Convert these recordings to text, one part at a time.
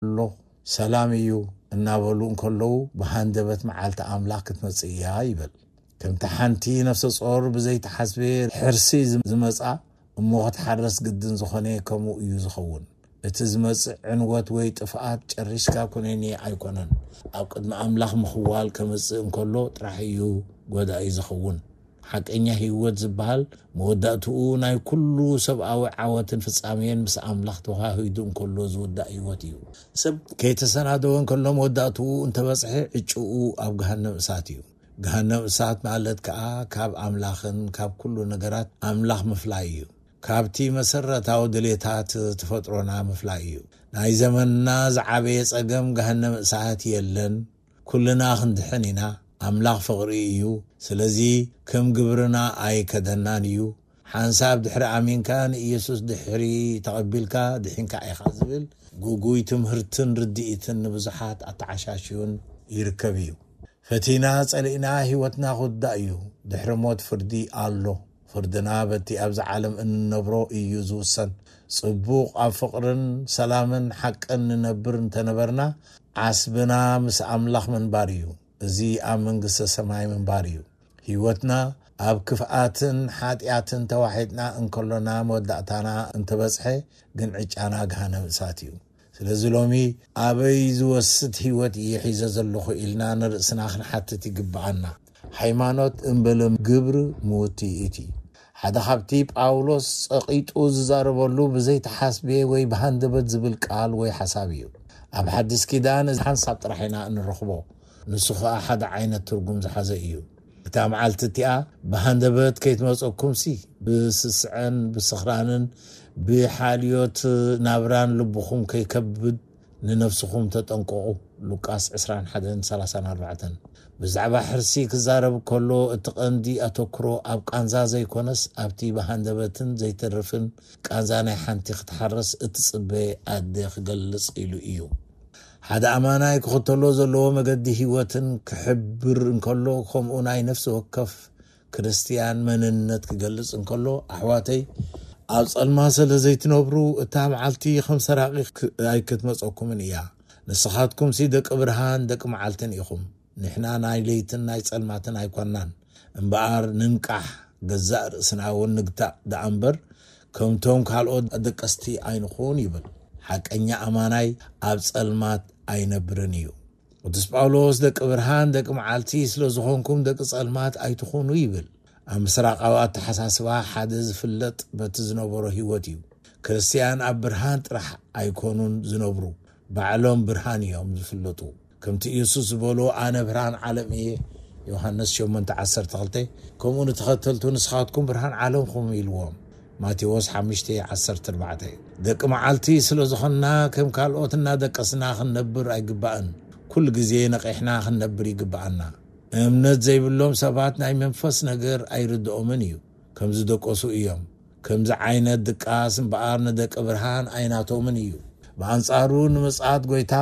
ኣሎ፣ ሰላም እዩ እናበሉ እንከለዉ፣ ብሃንደበት መዓልቲ ኣምላኽ ክትመጽእ እያ ይብል። ከምቲ ሓንቲ ነፍሰ ጾር ብዘይተሓስበ ሕርሲ ዝመጻ እሞ ክትሓረስ ግድን ዝኾነ፣ ከምኡ እዩ ዝኸውን። እቲ ዝመጽእ ዕንወት ወይ ጥፍኣት ጨሪሽካ ኩነኔ ኣይኮነን። ኣብ ቅድሚ ኣምላኽ ምኽዋል ከመጽእ እንከሎ ጥራሕ እዩ ጎዳኢ ዝኸውን። ሓቀኛ ህይወት ዝበሃል መወዳእትኡ ናይ ኩሉ ሰብኣዊ ዓወትን ፍጻሜን ምስ ኣምላኽ ተዋሃሂዱ እንከሎ ዝውዳእ ህይወት እዩ። ሰብ ከይተሰናደወ እንከሎ መወዳእትኡ እንተበጽሐ ዕጭኡ ኣብ ገሃነም እሳት እዩ። ገሃነም እሳት ማለት ከኣ ካብ ኣምላኽን ካብ ኩሉ ነገራት ኣምላኽ ምፍላይ እዩ። ካብቲ መሰረታዊ ድሌታት ተፈጥሮና ምፍላይ እዩ። ናይ ዘመንና ዝዓበየ ጸገም ገሃነም እሳት የለን። ኩልና ክንድሕን ኢና። ኣምላኽ ፍቕሪ እዩ። ስለዚ ከም ግብርና ኣይከደናን እዩ። ሓንሳብ ድሕሪ ኣሚንካ ንኢየሱስ ድሕሪ ተቐቢልካ ድሒንካ ኢኻ ዝብል ግጉይ ትምህርትን ርድኢትን ንብዙሓት ኣተዓሻሽዩን ይርከብ እዩ። ፈቲና ጸሊእና ህይወትና ክውዳእ እዩ። ድሕሪ ሞት ፍርዲ ኣሎ። ፍርድና በቲ ኣብዚ ዓለም እንነብሮ እዩ ዝውሰን። ጽቡቕ ኣብ ፍቕርን ሰላምን ሓቅን ንነብር እንተነበርና ዓስብና ምስ ኣምላኽ ምንባር እዩ። እዚ ኣብ መንግስተ ሰማይ ምንባር እዩ። ህይወትና ኣብ ክፍኣትን ሓጢኣትን ተዋሒጥና እንከሎና መወዳእታና እንተበጽሐ ግን ዕጫና ገሃነም እሳት እዩ። ስለዚ ሎሚ ኣበይ ዝወስድ ህይወት እየ ሒዘ ዘለኹ ኢልና ንርእስና ክንሓትት ይግብኣና። ሃይማኖት እምበለ ግብሪ ምውቲ እቲ ሓደ ካብቲ ጳውሎስ ጸቒጡ ዝዛረበሉ ብዘይተሓስቤ ወይ ብሃንደበት ዝብል ቃል ወይ ሓሳብ እዩ። ኣብ ሓድስ ኪዳን እዚ ሓንሳብ ጥራሕ ኢና እንረኽቦ። ንሱ ኸኣ ሓደ ዓይነት ትርጉም ዝሓዘ እዩ። እታ መዓልቲ እቲኣ ብሃንደበት ከይትመጸኩምሲ ብስስዐን ብስኽራንን ብሓልዮት ናብራን ልብኹም ከይከብድ ንነፍስኹም ተጠንቀቑ። ሉቃስ ዕስራን ሓደን ሰላሳን ኣርባዕተን። ብዛዕባ ሕርሲ ክዛረብ ከሎ እቲ ቀንዲ ኣተኩሮ ኣብ ቃንዛ ዘይኮነስ ኣብቲ ብሃንደበትን ዘይተርፍን ቃንዛ ናይ ሓንቲ ክትሓረስ እትጽበ ኣደ ክገልጽ ኢሉ እዩ። ሓደ ኣማናይ ክኽተሎ ዘለዎ መገዲ ህይወትን ክሕብር እንከሎ ከምኡ ናይ ነፍሲ ወከፍ ክርስትያን መንነት ክገልጽ እንከሎ ኣሕዋተይ ኣብ ጸልማ ስለ ዘይትነብሩ እታ መዓልቲ ከም ሰራቒ ኣይክትመጸኩምን እያ። ንስኻትኩምሲ ደቂ ብርሃን ደቂ መዓልትን ኢኹም። ንሕና ናይ ለይትን ናይ ጸልማትን ኣይኮናን እምበኣር ንንቃሕ። ገዛእ ርእስና እውን ንግታእ ደኣ እምበር ከምቶም ካልኦት ኣደቀስቲ ኣይንኹን ይብል። ሓቀኛ ኣማናይ ኣብ ጸልማት ኣይነብርን እዩ። ቅዱስ ጳውሎስ ደቂ ብርሃን ደቂ መዓልቲ ስለ ዝኾንኩም ደቂ ጸልማት ኣይትኹኑ ይብል። ኣብ ምስራቃዊ ኣተሓሳስባ ሓደ ዝፍለጥ በቲ ዝነበሮ ህይወት እዩ። ክርስትያን ኣብ ብርሃን ጥራሕ ኣይኮኑን ዝነብሩ፣ ባዕሎም ብርሃን እዮም ዝፍለጡ። ከምቲ ኢየሱስ ዝበሎ ኣነ ብርሃን ዓለም እየ፣ ዮሃንስ ሸሞንተ ዓሰርተ ክልተ። ከምኡ ንተኸተልቱ ንስኻትኩም ብርሃን ዓለምኹም ኢልዎም፣ ማቴዎስ ሓሙሽተ ዓሰርተ ኣርባዕተ። ደቂ መዓልቲ ስለ ዝኾንና ከም ካልኦት እናደቀስና ክንነብር ኣይግባእን። ኩሉ ግዜ ነቒሕና ክንነብር ይግባኣና። እምነት ዘይብሎም ሰባት ናይ መንፈስ ነገር ኣይርድኦምን እዩ። ከም ዝደቀሱ እዮም። ከምዚ ዓይነት ድቃስ እምበኣር ንደቂ ብርሃን ኣይናቶምን እዩ። ብኣንጻሩ ንምጽኣት ጎይታ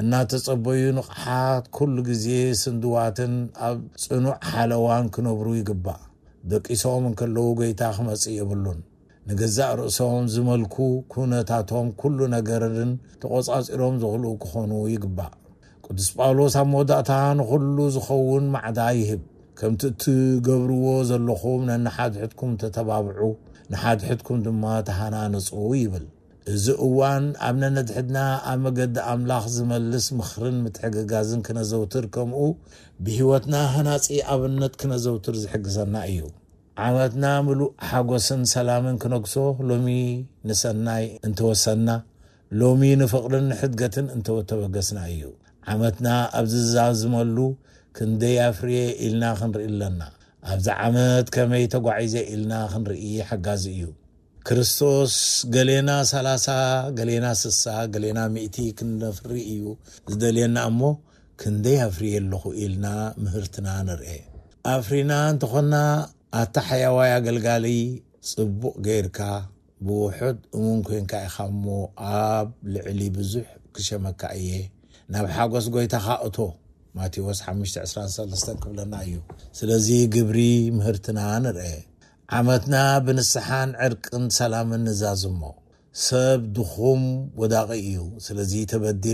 እናተጸበዩ ንቕሓት ኩሉ ግዜ ስንድዋትን ኣብ ጽኑዕ ሓለዋን ክነብሩ ይግባእ። ደቂሶም እንከለዉ ጎይታ ክመጽእ የብሉን። ንገዛእ ርእሶም ዝመልኩ ኩነታቶም ኩሉ ነገርን ተቖጻጺሮም ዝኽእሉ ክኾኑ ይግባእ። ቅዱስ ጳውሎስ ኣብ መወዳእታ ንኹሉ ዝኸውን ማዕዳ ይህብ። ከምቲ እትገብርዎ ዘለኹም ነንሓድሕድኩም ተተባብዑ፣ ንሓድሕድኩም ድማ ተሃናነጹ ይብል። እዚ እዋን ኣብ ነነድሕድና ኣብ መገዲ ኣምላኽ ዝመልስ ምኽርን ምትሕግጋዝን ክነዘውትር ከምኡ ብህይወትና ሃናጺ ኣብነት ክነዘውትር ዝሕግዘና እዩ። ዓመትና ምሉእ ሓጎስን ሰላምን ክነግሶ ሎሚ ንሰናይ እንተወሰና፣ ሎሚ ንፍቕርን ንሕድገትን እንተተበገስና እዩ። ዓመትና ኣብ ዝዛዝመሉ ክንደይ ኣፍርየ ኢልና ክንርኢ ኣለና። ኣብዚ ዓመት ከመይ ተጓዒዘ ኢልና ክንርኢ ሓጋዚ እዩ። ክርስቶስ ገሌና ሰላሳ፣ ገሌና ስሳ፣ ገሌና ሚእቲ ክንነፍሪ እዩ ዝደልየና እሞ ክንደይ ኣፍርየ ኣለኹ ኢልና ምህርትና ንርኤ። ኣፍሪና እንተኾና ኣታ ሕያዋይ ኣገልጋሊ ጽቡቕ ገይርካ ብውሑድ እሙን ኮንካ ኢኻ እሞ ኣብ ልዕሊ ብዙሕ ክሸመካ እየ። ናብ ሓጎስ ጎይታኻ እቶ። ማቴዎስ ሓሙሽተ ዕስራን ሰለስተን ክብለና እዩ። ስለዚ ግብሪ ምህርትና ንርአ። ዓመትና ብንስሓን ዕርቅን ሰላምን ንዛዝሞ። ሰብ ድኹም ወዳቒ እዩ። ስለዚ ተበዲለ